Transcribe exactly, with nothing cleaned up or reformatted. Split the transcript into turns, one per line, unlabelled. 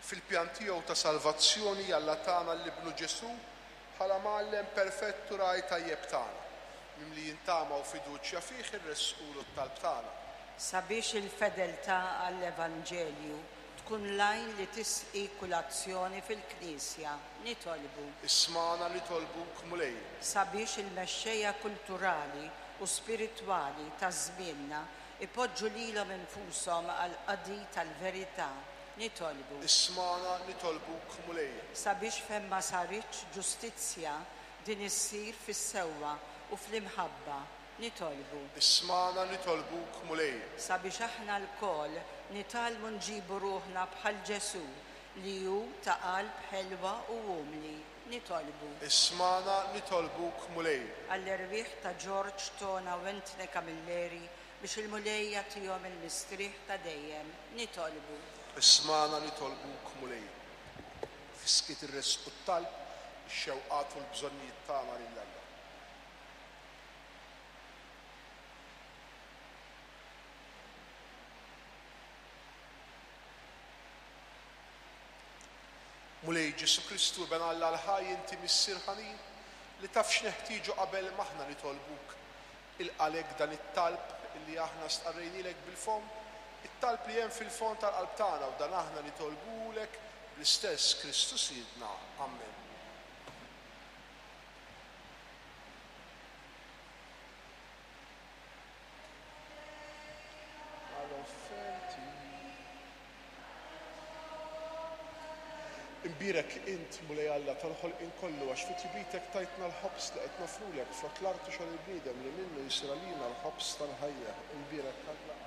Fil-pjan tiegħu ta' salvazzjoni Alla tana lil Ibnu Ġesù bħala mgħallem perfett u ragħaj tajjeb tagħna. Mimlijin tama u fiduċja fih irressqulu t-talb tagħna.
Sabiex il-fedeltà għall-Evanġelju tkun l-għajn li tisqi kull azzjoni fil-Knisja, nitolbu.
Ismagħna nitolbuk, Mulej.
Sabiex il-mexxejja kulturali u spiritwali ta' żmienna ipoġġu lilhom infushom għall-qadi tal-verità, nitolbu.
Ismagħna nitolbuk, Mulej.
Sabiex fejn ma saritx ġustizzja din issir fis-sewwa u fl-imħabba, nitolbu.
Ismagħna nitolbuk, Mulej.
Sabiex aħna lkoll nitgħallmu nġibu ruħna bħal Ġesù li hu ta' qalb ħelwa u umli, nitolbu.
Ismagħna nitolbuk, Mulej.
Għall-erwieħ ta' George, Tona u Anthony Camilleri biex il-Mulej jagħtihom il-mistrieħ ta' dejjem, nitolbu.
Ismagħna nitolbuk, Mulej. Fis-skiet irressqu t-talb, ix-xewqat u l-bżonnijiet tagħna lil Alla. Mulej Ġesù Kristu, Iben Alla l-ħaj, inti Missier ħanin li taf x'neħtieġu qabel m'aħna nitolbuk. Ilqa' lek dan it-talb li aħna stqarrejnielek bil-fomm, it-talb li hemm fil-fond tal-qalb tagħna, u dan aħna nitolbulek bl-istess Kristu Sidna. Amen. Imbierek int, Mulej Alla, tal-ħolqien kollu, għax fi tjubitek tajtna l-ħobż li qed noffrulek, frott l-art u xogħol il-bniedem li minnu jsir għalina l-ħobż tal-ħajja. Imbierek Alla